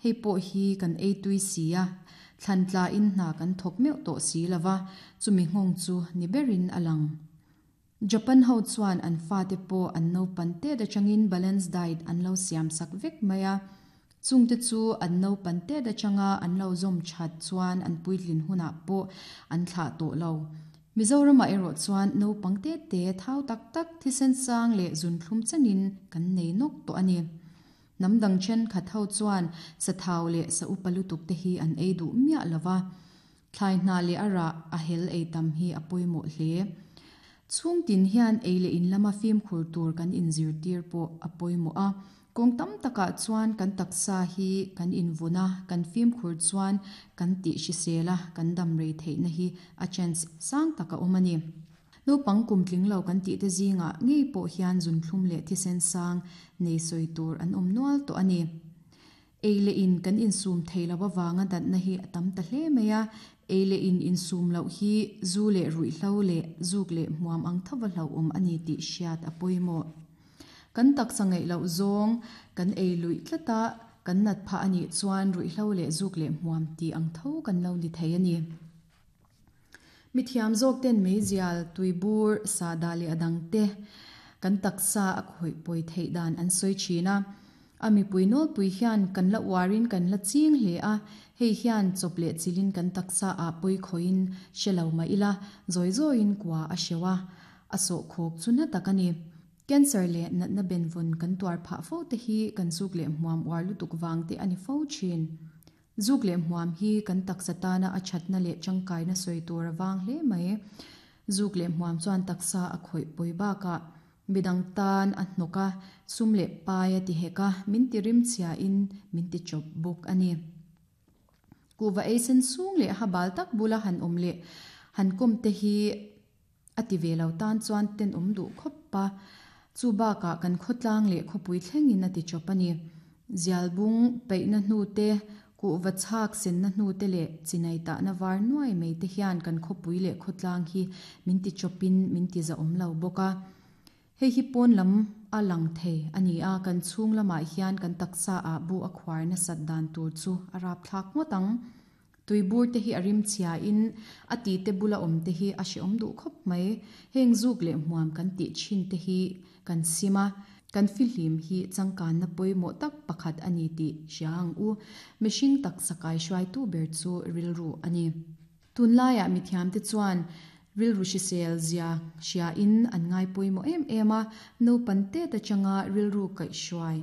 Hei pawh hi kan ei tui si a, thlan tlain hna kan thawk meuh tawh si lo va, chumi nghawng chu ni berin a lang. Japan ho chuan an fate pawh an naupan tet atangin balance diet an lo siam sak vek mai a, chungte chu an naupan tet atanga an lo zawm that chuan an puitlin hunah pawh an thlah tawh lo. Mizoramah erawh chuan naupang te te thau tak tak thisen sang leh zunthlum chenin kan nei nawk tawh a ni. Hnam dang thenkhat ho chuan sa thau leh sa upa lutuk te hi an ei duh miah lo va, thlai hnah leh a rah a hel ei tam hi a pawimawh hle. Chhung tin hian ei leh in lama fimkhur tur kan inzirtir pawh a pawimawh a, kawng tam takah chuan kan taksa hi kan invun a, kan fimkhur chuan kan tih hrisel a, kan dam rei theihna hi a chance sang tak a awm a ni. Naupang kum tling lo kan tihte zingah ngei pawh hian zunthlum leh thisen sang nei sawi tur an awm nual tawh a ni. Ei leh in kan insum thei lo avanga danna hi a tam ta hle mai a, ei leh in insum loh hi zu leh ruihhlo leh zuk leh hmuam ang thova hlauhawm a ni tih hriat a pawimawh. Kan taksa ngaih loh zawng kan ei luih tlat a, kan nat phah a nih chuan ruihhlo leh zuk leh hmuam tih ang tho kan lo ni thei a ni. Mithiam zawk ten meizial, tuibur, sahdah leh a dang te kan taksa a khawih pawi theih dan an sawi thin a. A mipui nawlpui hian kan la uarin kan la ching hle a, hei hian chawp leh chilhin kan taksa ah pawi khawihin hre lo mah ila, zawi zawiin kua a hreuh a, a sawhkhawk chu na tak a ni. Cancer leh natna benvawn kan tuar phah fo te hi kan zuk leh hmuam uar lutuk vang te a ni fo thin. Zuk leh hmuam hi kan taksa tana a thatna leh tangkaina sawi tur a vang hle mai. Zuk leh hmuam chuan taksa a khawih pawi bakah midang tan a hnawk a, sum leh pai a ti hek a, min ti rimchhiain min ti chawp bawk a ni. Kuhva ei sen sung leh ha bal tak bula han awm leh han kawm te hi A ti ve lo tan chuan tenawm duh khawp a, chu bakah kan khawtlang leh khawpui thlengin a ti chawp a ni. Zialbung peihna hnu te, kuhva chhak senna hnu te leh chinai tahna var nuai mai te hian kan khawpui leh khawtlang hi min ti chawpin min ti zahawm lo bawk a. Hei hi pawn lam a lang thei a ni a, kan chhung lamah hian kan taksa ah bu a khuar nasat dan tur chu a rapthlak ngawt ang. Tuibur te hi a rim chhia in a ti te bula awm te hi a hrehawm duh khawp mai. Heng zuk leh hmuam kan tih thin te hi kan sim a, kan fihlim hi changkanna pawimawh tak pakhat a ni tih hria ang u. Mihring taksa kaihruaitu ber chu rilru a ni. Tunlaiah mithiamte chuan rilru hrisel zia hriain an ngai pawimawh em em a, naupan tet atanga rilru kaihhruai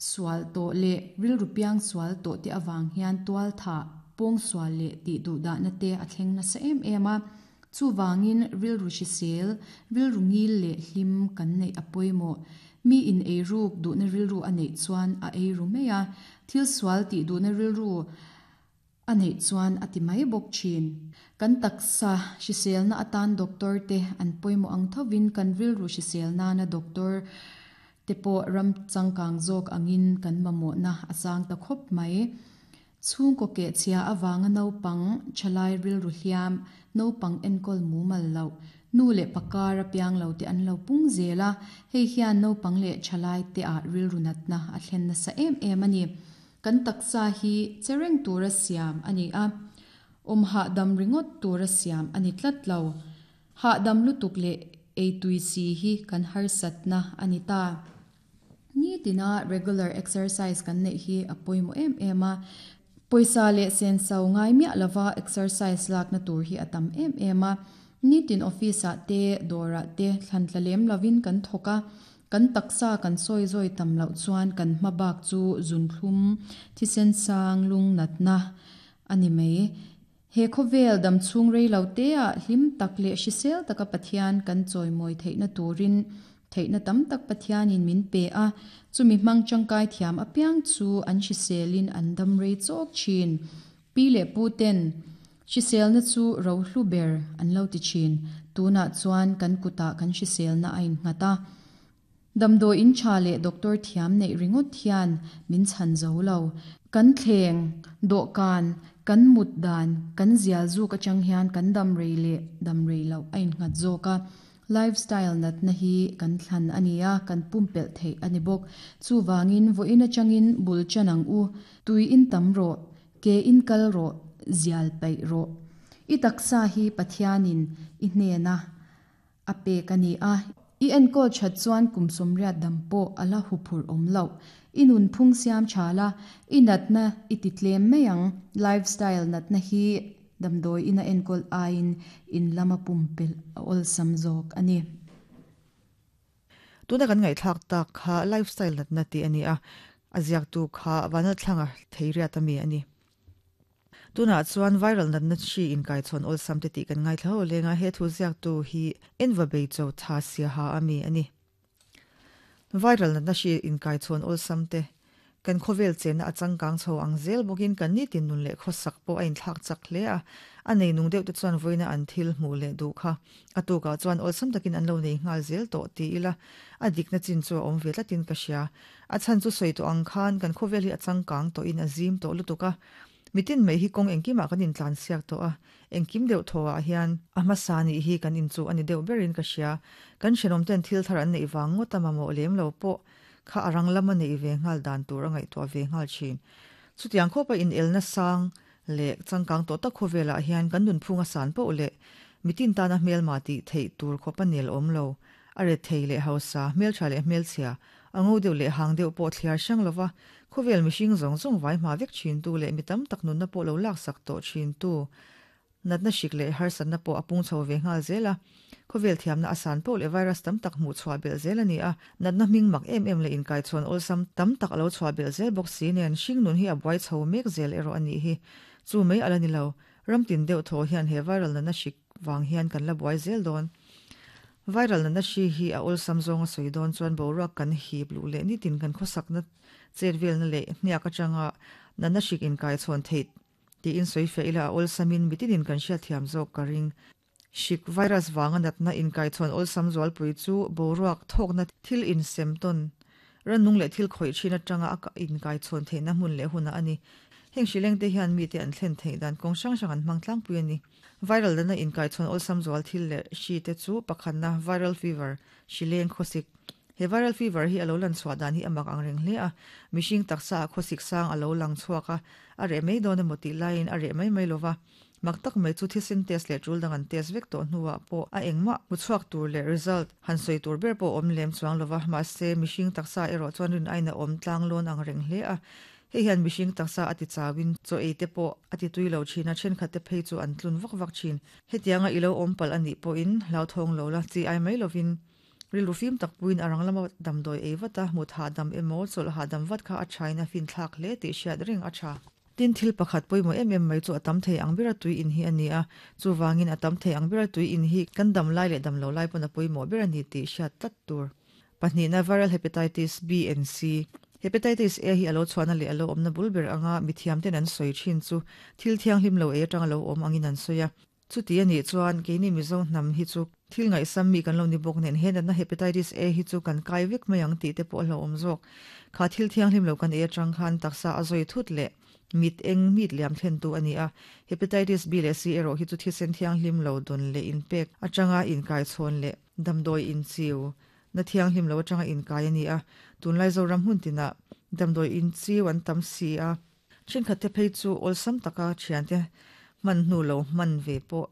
sual tawh leh rilru piang sual tawh te avang hian tualthah, pawngsual leh tih duhdahna te a thleng nasa em em a. Chuvangin rilru hrisel, rilru ngil leh hlim kan neih a pawimawh. Mi in eiruk duhna rilru a neih chuan a eiru mai a, thil sual tih duhna rilru A neih chuan a ti mai bawk thin. Kan taksa hriselna atan doctor te an pawimawh ang thovin kan rilru hrisel nana doctor te pawh ram changkang zawk angin kan mamawhna a sang ta khawp mai. Chhungkaw kehchhia avanga naupang thalai rilru hliam, naupang enkawl mumal loh, nu leh pakar a piang lo te an lo pung zel a, hei hian naupang leh thalai te ah rilru natna a thlen nasa em em a ni. Kan taksa hi che reng tura siam a ni a, awm hahdam ringawt tura siam a ni tlat lo. Hahdam lutuk leh eitui si hi kan harsatna a ni ta. Nitina regular exercise kan neih hi a pawimawh em em a, pawisa leh senso ngai miah lova exercise lakna tur hi a tam em em a. Nitin office ah te, dawrah te thlan tla lem lovin kan thawk a, Kan taksa kan sawi zawi tam loh chuan kan hma bak chu zunthlum, thisen sang, lung natna a ni mai. He khawvel dam chhung rei lo te ah hlim tak leh hrisel taka Pathian kan chawimawi theihna turin theihna tam tak Pathianin min pe a, chumi hmang tangkai thiam apiang chu an hriselin an dam rei chawk thin. Pi leh pu ten hriselna chu rohlu ber an lo ti thin. Tunah chuan kan kutah kan hriselna a innghat a. Damdawi in tha leh doctor thiam neih ringawt hian min chhan zo lo. Kan thleng, dawhkan, kan mut dan, kan zial zuk atang hian kan dam rei leh dam rei loh a innghat zawk a. Lifestyle natna hi kan thlan a ni a, kan pumpelh theih a ni bawk. Chuvangin vawiin atangin bul tan ang u. Tui in tam rawh, ke in kal rawh, zial paih rawh. I taksa hi Pathianin i hnena a pek a ni a, i enkawl that chuan kum 80 dam pawh a la huphurh awm loh. I nunphung siam tha la, i natna i ti tlem mai ang. Lifestyle natna hi damdawi ina enkawl aiin in lama pumpelh a awlsam zawk a ni. Tuna kan ngaihthlak tak kha lifestyle natna tih a ni a, a ziaktu kha Vanlalthlanga Theiriat ami a ni. Tunah chuan viral natna hri inkaichhawn awlsam te tih kan ngaithla ho leng a, he thu ziaktu hi Enva Bei Cho Tha Siaha ami a ni. Viral natna hri inkaichhawn awlsam te kan khawvel chenna a changkang chho ang zel bawkin kan nitin nun leh khawsak pawh a inthlak chak hle a, a nei nung deuh te chuan vawiina an thil hmuh leh duh kha a tukah chuan awlsam takin an lo nei nghal zel tawh ti ila a dikna chin chu a awm ve tlatin ka hria. A chhan chu sawi tawh ang khan kan khawvel hi a changkang tawhin a zim tawh lutuk a, mitin mai hi kawng engkimah kan intlan siak tawh a, engkim deuh thawhah hian a hmasa nih hi kan inchuh a ni deuh berin ka hria. Kan hrenawmten thil thar an neih vang ngawt a mamawh lem lo pawh kha a rang lama neih ve nghal dan tur a ngaihtuah ve nghal thin. Chutiang khawpa inelna sang leh changkang tawh tak khawvelah hian kan nunphung a san poh leh mitin tana hmelma tih theih tur khawpa nel awm lo, a ret thei leh hausa, hmeltha leh hmelchhia, a ngo deuh leh hang deuh pawh thliar hrang lova khawvel mihring zawng zawng vai hma vek thintu leh mi tam tak nunna pawh lo laksak tawh thintu Natna hrik leh harsatna pawh a pung chho ve nghal zel a, khawvel thiamna a san poh leh virus tam tak hmuh chhuah belh zel a ni a, natna hming mak em em leh inkaichhawn awlsam tam tak a lo chhuah belh zel bawk si nen hring nun hi a buai chho mek zel erawh a nih hi. Chu mai a la ni lo, ram tin deuh thaw hian he viral natna hrik vang hian kan la buai zel dawn. Viral natna hri hi a awlsam zawng a sawi dawn chuan boruak kan hip luh leh nitin kan khawsakna chet velna leh hniak atanga natna hrik inkaichhawn theih Tiin sawi fiah ila a awlsamin mitinin kan hriatthiam zawk ka ring. Hrik virus vanga natna inkaichhawn awlsam zualpui chu boruak thawkna thil insem tawn, rannung leh thil khawih thin atanga a inkaichhawn theihna hmun leh hunah a ni. Heng hrilengte hian mite an thlen theih dan kawng hrang hrang an hmang tlangpui a ni. Viral natna inkaichhawn awlsam zual thil leh hri te chu pakhatna viral fever, hrileng khawsik, He viral fever hi a lo lan chhuah dan hi a mak ang reng hle a, mihring taksa ah khawsik sang a lo lang chhuak a, a reh mai dawn emaw tih laiin a reh mai mai lo va. Mak tak mai chu thisen test leh tul dang an test vek tawh hnuah pawh a engmah hmu chhuak tur leh result han sawi tur ber pawh a awm lem chuang lo va, mahse mihring taksa erawh chuan rin aiin a awm tlang lawn ang reng hle a. Hei hian mihring taksa a ti chauin chaw ei te pawh a ti tui lo thin a, thenkhat te phei chu an tlun vak vak thin. Hetianga i lo awm palh a nih pawhin hlauthawng lo la, chi ai mai lovin Rilru fim tak puiin a rang lama damdawi ei vat a, mut hahdam emaw, chawlh hahdam vat kha a thain a finthlak hle tih hriat reng a tha. Tin, thil pakhat pawimawh em em mai chu a tam thei ang bera tui in hi a ni a, chuvangin a tam thei ang bera tui in hi kan dam lai leh dam lo lai pawn a pawimawh ber a ni tih hriat tlat tur. Pahnihna, Viral Hepatitis B and C. Hepatitis A hi a lo chhuahna leh a lo awmna bul ber anga mithiamten an sawi thin chu thil thianghlim lo ei atanga lo awm angin an sawi a. Chuti a nih chuan keini Mizo hnam hi chu thil ngaihsam mi kan lo ni bawk nen he natna Hepatitis A hi chu kan kai vek mai ang tih te pawh a hlauhawm zawk. Kha thil thianghlim lo kan ei atang khan taksa a zawi thut leh mit eng mit liam thlentu a ni a. Hepatitis B leh C erawh hi chu thisen thianghlim lo dawn leh inpek atanga inkaichhawn leh damdawi inchiu na thianghlim lo atanga inkai a ni a. Tunlai Zoram hmun tinah damdawi inchiu an tam si a. Thenkhat te phei chu awlsam taka thiante hman hnu lo hman ve pawh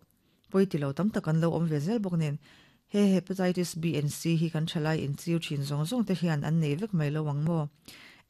pawi ti lo tam tak an lo awm ve zel bawk nen he Hepatitis B and C hi kan thalai inchiu thin zawng zawng te hian an nei vek mai lo ang maw?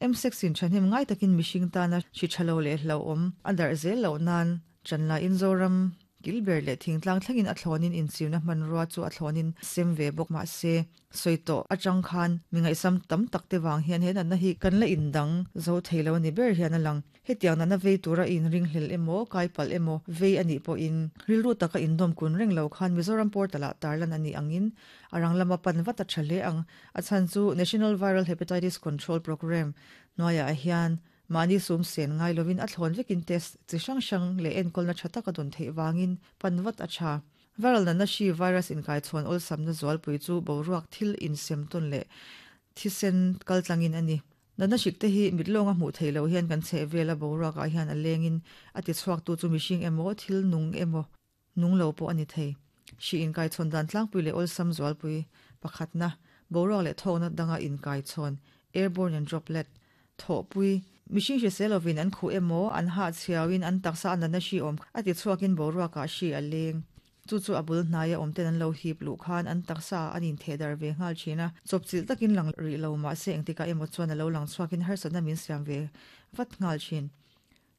M-sex in thahnem ngai takin mihring tana hri tha lo leh hlauhawm a darh zel loh nan Chanlaiin Zoram Kilber leh thingtlang thlengin a thlawnin inchirna hmanrua chu a thlawnin sem ve bawk mah se, sawi tawh atang khan mi ngaihsam tam tak te vang hian he natna hi kan la indang zo thei lo a ni ber hian a lang. Hetiang natna vei tura inringhlel emaw, kai palh emaw vei a nih pawhin rilru taka indawm kun reng lo khan Mizoram portal ah tarlan a nih angin a rang lama pan vat a tha hle ang. A chhan chu National Viral Hepatitis Control Programme hnuaiah hian Mahni sum sen ngai lovin a thlawn vekin test chi hrang hrang leh enkawlna tha tak a dawn theih vangin pan vat a tha. Viral natna hri virus inkaichhawn awlsamna zualpui chu boruak thil insem tawn leh thisen kaltlangin a ni. Natna hrikte hi mit lawnga hmuh theih loh hian kan chheh vela boruakah hian a lengin a tichhuaktu chu mihring emaw thil nung emaw nung lo pawh a ni thei. Hri inkaichhawn dan tlangpui leh awlsam zualpui pakhatna, boruak leh thawkna danga inkaichhawn, airborne and droplet, thawhpui. Mihring hrisel lovin an khuh emaw, an hah chhiauin an taksa a natna hri awm a ti chhuakin boruakah hri a leng. Chu chu a bul hnaia awmten an lo hip luh khan an taksa ah an intheh darh ve nghal thin a, chawpchilh takin lang rih lo mahse engtikah emaw chuan a lo lang chhuakin harsatna min siam ve vat nghal thin.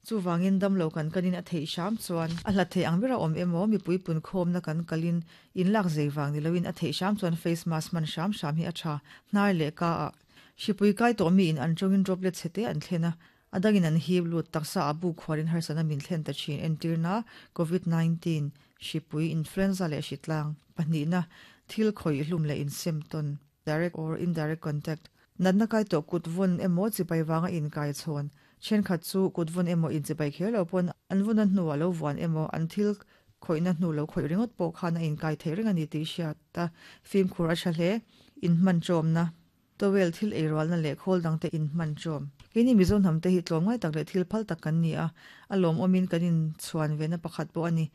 Chuvangin damlo kan kanin a theih hram chuan a hlat theih ang bera awm emaw mipui punkhawmna kan kalin inlak zei vang ni loin a theih hram chuan face mask hman hram hram hi a tha. Hnar leh ka ah hripui kai tawh miin an tawngin droplet chhe te an thlen a, A dangin an hip lut taksa a buk khuarin harsatna min thlen ta thin entirna Covid 19, hripui, influenza leh hritlang, pahnihna, thil khawih hlum leh insem tawn, direct or indirect contact, natna kai tawh kut vawn emaw chibai vanga inkai chhawn, thenkhat chu kut vawn emaw inchibai kher lo pawn an vawn a hnuah lo vuan emaw an thil khawihna hnu lo khawih ringawt pawh khan a inkai theih reng a ni tih hriat a fimkhur a tha hle, inhman ṭawmna. Towel thil ei rualna leh khawl dangte in hman ṭawm. Keini Mizo hnamte hi tlawmngai tak leh thil phal tak kan ni a, a lawmawmin kan inchhuan vena pakhat pawh a ni.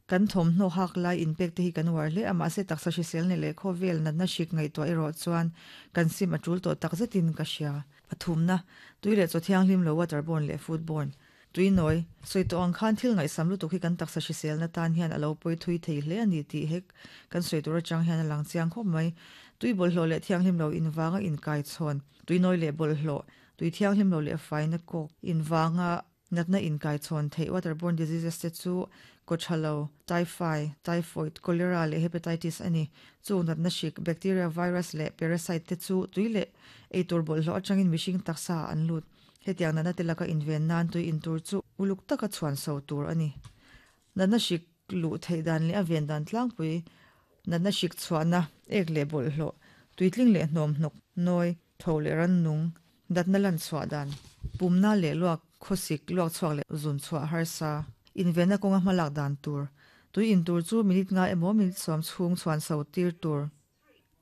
Kan thawmhnaw hak lai inpek te hi kan uar hle a, mahse taksa hrisel nei leh khawvel natna hrik ngaihtuah erawh chuan kan sim a ṭul tawh tak zetin ka hria. Pathumna, tui leh chaw thianghlim lo waterborne leh foodborne. Tui nawi, sawi tawh ang khan thil ngaihsam lutuk hi kan taksa hriselna tan hian a lo pawi thui thei hle a ni tih hek kan sawi tur atang hian a lang chiang khawp mai. Tui bawlhhlawh leh thianghlim lo invanga inkaichhawn, tui nawi leh bawlhhlawh, tui thianghlim lo leh faina kawk invanga natna inkaichhawn theih waterborne diseases te chu kawthalo, typhi, typhoid, cholera leh hepatitis a ni. Chu natna hrik, bacteria, virus leh parasite te chu tui leh eitur bawlhhlawh atangin mihring taksa ah an lut. Hetiang natna te laka inven nan tui in tur chu uluk taka chhuan so tur a ni. Natna hrik luh theih dan leh a ven dan tlangpui, natna hrik chhuahna, ek leh bawlhhlawh, tuitling leh hnawm hnawk, nawi, tho leh rannung, natna lan chhuah dan, pumna leh luak, khawsik, luak chhuak leh zun chhuah harsa, invenna kawnga hmalak dan tur, tui in tur chu minute nga emaw minute sawm chhung chhuan so tir tur.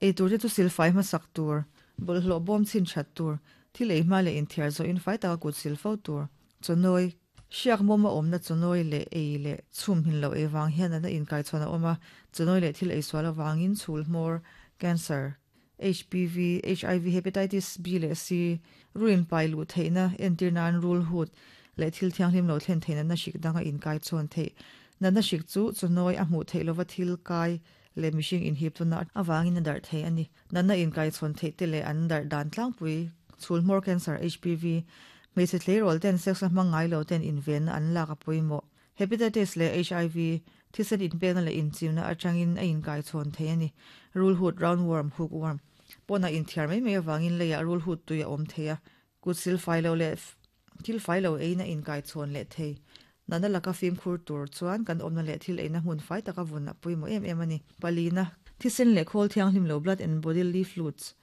Ei tur te chu silfai hmasak tur, bawlhhlawh bawm chhin that tur, thil ei hma leh inthiar zawhin fai taka kut sil fo tur, chawnawi, hriak mawm a awmna chawnawi leh ei leh chhum hmin loh ei vang hian natna inkaichhawn a awm a, chawnawi leh thil ei sual avangin chhul hmawr, cancer, HPV, HIV, Hepatitis B leh C, ruin pai luh theihna entir nan rul hut leh thil thianghlim lo thlen theih natna hrik danga inkaichhawn theih. Natna hrik chu chawnawi a hmuh theih lova thil kai leh mihring inhip tuna avangin a darh thei a ni. Natna inkaichhawn theih te leh an darh dan tlangpui, chhul hmawr cancer, HPV, hmeichhe tleirawl ten sex a hmang ngai lo ten invenna an lak a pawimawh. Hepatitis leh HIV, thisen inpekna leh inchimna atangin a inkaichhawn thei a ni. Rulhut, roundworm, hookworm, pawnah inthiar mai mai avangin leiah rulhut tui a awm thei a, Kut sil fai lo leh thil fai lo eiin a inkaichhawn leh thei. Natna laka fimkhur tur chuan kan awmna leh thil eina hmun fai taka vun a pawimawh em em a ni. Palina, thisen leh khawl thianghlim lo blood and bodily fluids,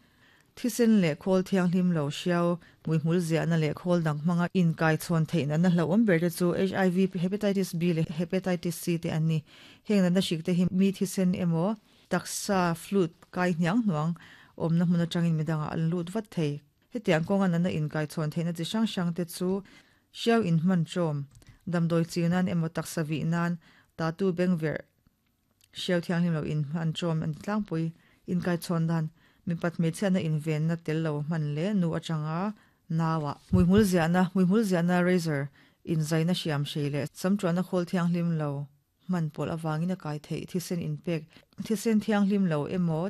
Thisen leh khawl thianghlim lo hriau, hmuihmul ziahna leh khawl dang hmanga inkaichhawn theih natna hlauhawm ber te chu HIV, Hepatitis B leh Hepatitis C te an ni. Heng natna hrik te hi mi thisen emaw, taksa, fluid, kai hniang hnuang awmna hmun atangin midangah an lut vat thei. Hetiang kawnga natna inkaichhawn theihna chi hrang hrang te chu hriau inhman ṭawm, damdawi chi nan emaw taksa vih nan, tatu bengverh, hriau thianghlim lo inhman ṭawm an ti tlangpui. Inkaichhawn dan, mipat hmeichhiatna invenna tel lo hman leh nu aṭanga nauah. Hmuihmul ziahna, hmuihmul ziahna razor, inzaina hriam hrei leh samṭuahna khawl thianghlim lo hman pawlh avangin a kai theih thisen inpek, thisen thianghlim lo emaw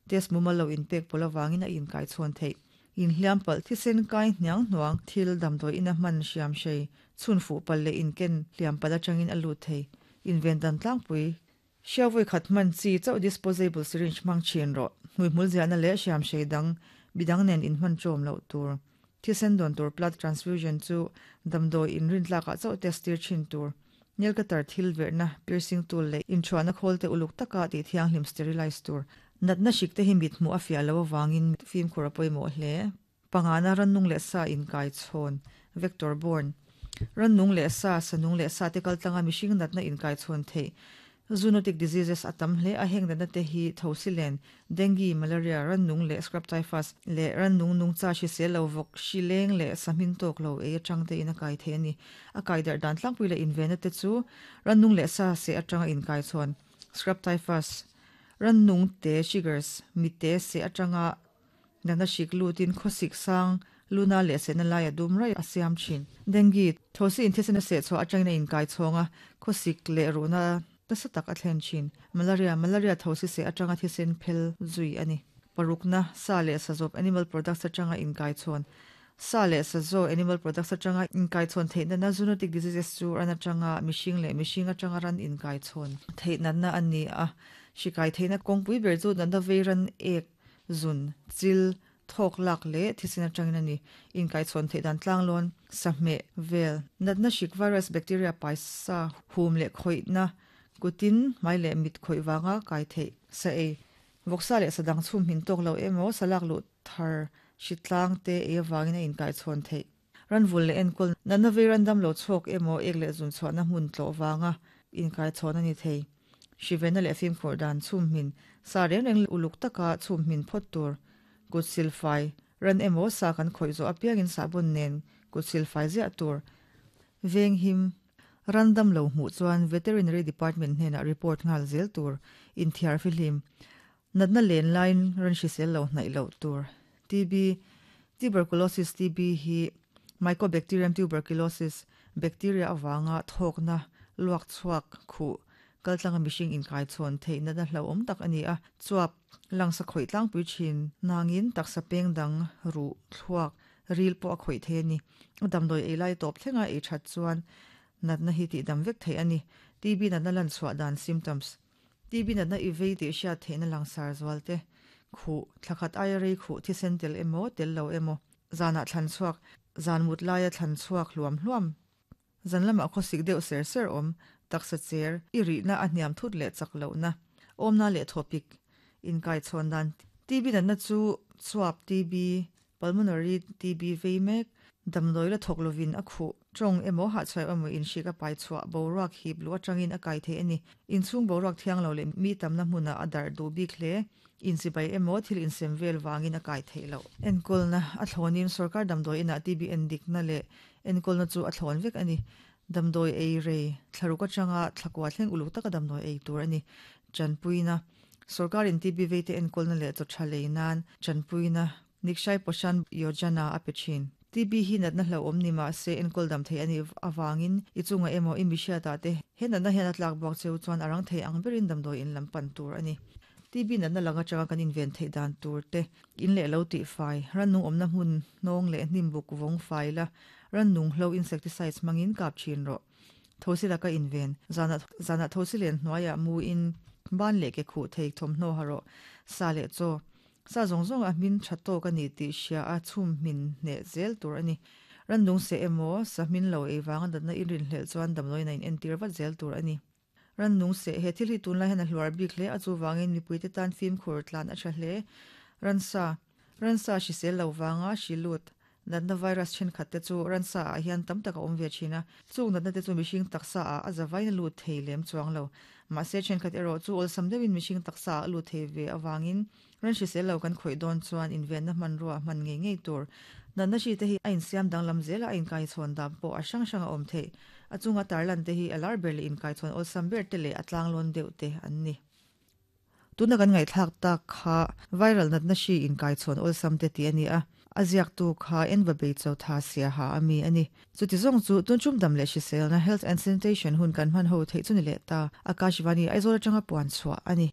test mumal lo inpek pawlh avangin a inkaichhawn theih. Inhliam palh thisen kai hniang hnuang thil damdawi ina hman hriam hrei, chhun fuh palh leh inken hliam palh atangin a lut thei. Inven dan tlangpui. Hriau vawi khat hman chi chauh disposable syringe hmang thin rawh. Hmuihmul ziahna leh hriam hrei dang midang nen inhman ṭawm loh tur. Thisen dawn tur blood transfusion chu damdawi inrintlakah chauh test tir thin tur. Nail cutter thil verhna, piercing tool leh inthuahna khawl te uluk taka tih thianghlim sterilize tur. Natna hrik te hi mit hmuh a fiah loh avangin fimkhur a pawimawh hle. Pangana rannung leh sa inkaichhawn, vector borne. Rannung leh sa, sanung leh sa te kaltlanga mihring natna inkaichhawn theih Zoonotic diseases a tam hle a, heng natna te hi thosilen, dengue, malaria, rannung leh scrub typhus, leh rannung nungcha hrisel lo vawk, hri leng leh sahmin tawk lo ei atang te in a kai thei a ni. A kai darh dan tlangpui leh invenna te chu rannung leh sa seh atanga inkaichhawn. Scrub typhus, Rannung te, chiggers, mite seh atanga natna hrik lutin khawsik sang luna leh sehna laia dum raih a siam thin. Dengue, Thosi inthisen a seh chhuah atangin a inkai chhawng a, khawsik leh ruhna nasa tak a thlen thin. Malaria, Malaria thosi seh atanga thisen phel zui a ni. Parukna, Sa leh sazawp, animal products, atanga inkai chhawn. Sa leh sazaw, animal products, atanga inkai chhawn theih natna zoonotic diseases chu ran atanga mihring leh mihring atanga ran inkai chhawn theih natna a ni a. Hri kai theihna kawngpui ber chu natna vei ran ek, zun, chil, thawk lak leh thisen atangin a ni. Inkaichhawn theih dan tlanglawn, sahmeh, vel, natna hrik virus, bacteria, paisa, hum leh khawihna, kutin, hmai leh mit khawih vanga kai theih sa ei, vawksa leh sadang chhum hmin tawk lo emaw salak luh thar hritlang te ei avangin a inkaichhawn theih. Ranvul leh enkawl natna vei randam lo chhuak emaw ek leh zun chhuahna hmun tlawh vanga inkaichhawn a ni thei. Hrivenna leh fimkhur dan chhum hmin, sa reng reng uluk taka chhum hmin phawt tur. Kut silfai, ran emaw sa kan khawih zawh apiangin sahbawn nen kut silfai ziah tur. Venghim, randam lo hmuh chuan Veterinary Department hnenah report nghal zel tur. Inthiar fihlim, Natna len laiin ran hrisel lo hnaih loh tur. TB, Tuberculosis, TB hi Mycobacterium tuberculosis bacteria avanga thawkna, luak chhuak, khuh, kaltlanga mihring inkaichhawn theih natna hlauhawm tak a ni a. Chuap, langsa khawih tlangpui thin nangin taksa peng dang, ruh, thluak, ril pawh a khawih thei a ni. A damdawi ei lai tawp thlenga ei that chuan natna hi tihdam vek theih a ni. TB natna lanchhuah dan, symptoms. TB natna i vei tih hriat theihna langsar zual te, khuh, thlakhat aia rei khuh thisen tel emaw, tel lo emaw, zanah thlan chhuak, zan mut laia thlan chhuak hluam hluam, zan lamah khawsik deuh ser ser awm, taksa cher, i rihna a hniam thut leh chak lohna, awmna leh thawpik, inkaichhawn dan. TB natna chu chuap TB, Pulmonary TB vei mek, damdawi la thawk lovin a khuh, tawng emaw hahchhuai emaw inhrik a pai chhuah boruak hip luh atangin a kai thei a ni. Inchhung boruak thiang lo leh mi tamna hmunah a darh duh bik hle. Inchibai emaw thil insem vel vangin a kai theih loh. Enkawlna a thlawnin sorkar damdawi inah TB endikna leh enkawlna chu a thlawn vek a ni. Damdawi ei rei, thlaruk atanga thlakua thleng uluk taka damdawi ei tur a ni. Tanpuina, Sorkarin TB veite enkawlna leh chaw tha lei nan tanpuina Nikshay Poshan Yojana a pe thin. TB hi natna hlauhawm ni mah se enkawl dam thei a nih avangin i chungah emaw i mihriatah te he natna hian a tlak buak cheu chuan a rang thei ang berin damdawi in lam pan tur a ni. TB natna lang atanga kan inven theih dan tur te, in leh lo tih fai, rannung awmna hmun hnawng leh hnim buk vawng fai la, rannung hlo insecticides hmangin kap thin rawh. Thosi laka inven, zanah zanah thosi len hnuaiah mu in ban leh ke khuh thei thawmhnaw ha rawh, sa leh chaw. Sa zawng zawng a hmin tha tawk a ni tih hria a chhum hmin hneh zel tur a ni. Randung seh emaw, sa hmin lo ei vanga natna i rinhlelh chuan damdawiin a in entir vat zel tur a ni. Rannung seh, he thil hi tunlai hian a hluar bik hle a, chuvangin mipuite tan fimkhur tlan a tha hle. Ransa, Ransa hrisel lo vanga hri lut, natna virus thenkhat te chu ransa ah hian tam tak a awm ve thin a, chung natna te chu mihring taksa ah a zavain a lut thei lem chuang lo. Mahse thenkhat erawh chu awlsam deuhin mihring taksa ah a lut thei ve avangin Ran hrisel lo kan khawih dawn chuan invenna hmanrua hman ngei ngei tur. Natna hri te hi a insiam danglam zel a, a inkaichhawn dan pawh a hrang hrang a awm theih. A chunga tarlan te hi a lar ber leh inkaichhawn awlsam ber te leh a tlanglawn deuh te an ni. Tuna kan ngaihthlak tak kha viral natna hri inkaichhawn awlsam te tih a ni a, a ziaktu kha Enva Beicho Tha Siaha a mi a ni. Chuti zawng chu tun tum dam leh hriselna, health and sanitation, hun kan hman ho theih chu ni leh ta. Akashvani, Aizawl atanga puan chhuah a ni.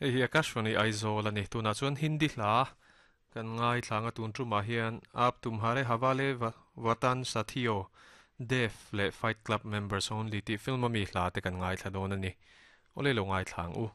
Hei hi Akashvani Aizawl a ni. Tunah chuan Hindi hla kan ngaithla ang a, tun tumah hian Aap Tumhare Hawale Watan Sathiyo, Dev leh Fight Club Members Only tih film ami hla te kan ngaithla dawn a ni. Awle lo ngaithla ang u.